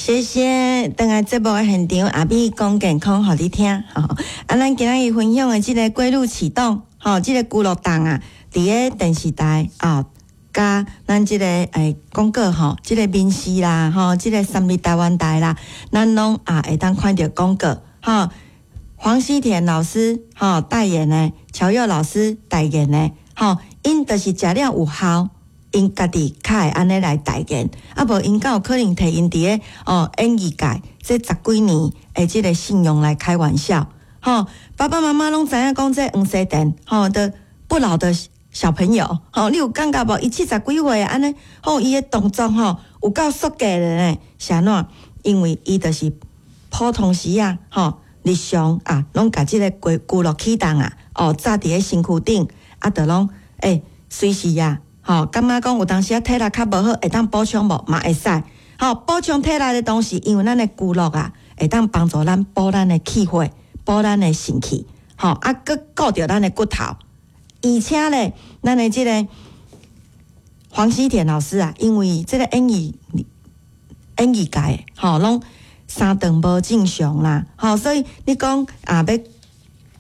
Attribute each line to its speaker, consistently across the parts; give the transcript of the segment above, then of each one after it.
Speaker 1: 謝謝，轉來節目的現場，阿美講健康，予你聽。吼，啊，咱今仔日分享的這个規律啟動，吼，這个龜鹿凍啊，佇咧電視台啊，佮咱這个廣告吼，這个民視啦，吼，這个三立台灣台啦，咱攏啊會當看著廣告，吼。黃西田老師吼代言的，喬佑老師代言的，吼，𪜶就是食了有效，𪜶家己較會按呢來代言，啊無𪜶敢有可能提𪜶佇咧哦演藝界這十幾年的這个信用來開玩笑，吼，爸爸媽媽攏知影講這黃西田吼的不老的小朋友，吼，你有感覺無？伊七十幾歲按呢，吼，伊的動作吼有夠速的呢，是按怎？因為伊就是普通時啊，吼。日常啊，攏共這个龜龜鹿啟動啊，哦，紮佇咧身軀頂，啊，就攏隨時啊，吼，感覺講有當時啊體力較無好，會當補充無？嘛會使，吼，補充體力的同時，因為咱的龜鹿啊，會當幫助咱補咱的氣血，補咱的腎氣，吼，啊，閣顧著咱的骨頭，而且咧，咱的這个黃西田老師啊，因為這个演藝界，吼，攏三頓無正常啦，吼，所以你講啊，欲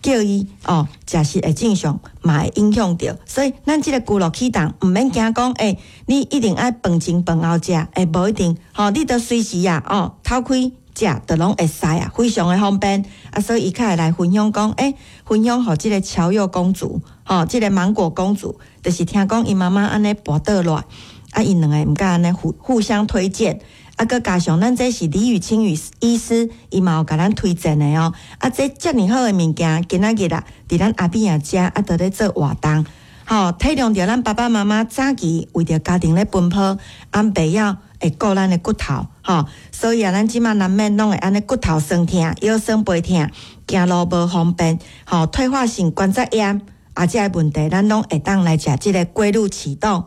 Speaker 1: 叫伊哦，食食會正常，嘛會影響著。所以咱這个龜鹿啟動，毋免驚講，你一定愛飯前飯後食，無一定，吼，你著隨時啊，哦，透開食，就攏會使啊，非常的方便。啊，所以伊較會來分享講，分享予這个喬佑公主，吼，這个芒果公主，就是聽講伊媽媽按呢跋倒落，啊，𪜶兩个毋敢按呢互互相推薦。啊，閣加上咱這是李宇清醫師，伊嘛有共咱推薦的哦。啊，這遮爾好的物件，今仔日啊，佇咱阿美仔遮啊，佇咧做活動，吼，體諒著咱爸爸媽媽早期為著家庭咧奔波，啊，袂曉會顧咱的骨頭，吼，所以啊，咱這馬難免攏會按呢骨頭酸痛、腰酸背痛、行路無方便，吼，退化性關節炎，啊，這个問題，咱攏會當來食這个龜鹿啟動。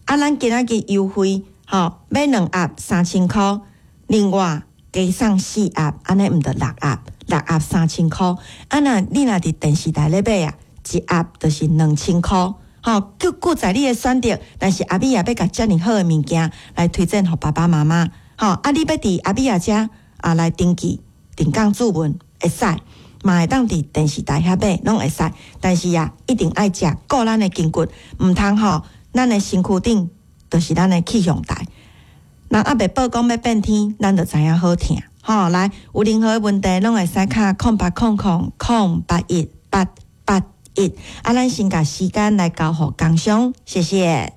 Speaker 1: 啊，咱今仔日優惠。吼，買兩盒3000箍，另外加送四盒，按呢毋著六盒，六盒3000箍。啊，若你若佇電視台咧買啊，一盒就是2000箍。吼，閣在你的選擇，但是阿美也欲共遮爾好的物件來推薦予爸爸媽媽。吼，啊，你欲佇阿美仔遮啊來登記定崗注文會使，嘛會當佇電視台遐買，攏會使。但是啊，一定愛食顧咱的筋骨，毋通吼，咱的身軀頂就是咱的氣象台。人猶未報講欲變天，咱就知影好疼。吼，來，有任何問題，攏會使敲0800 081 881。啊，咱先共時間來交予工商，謝謝。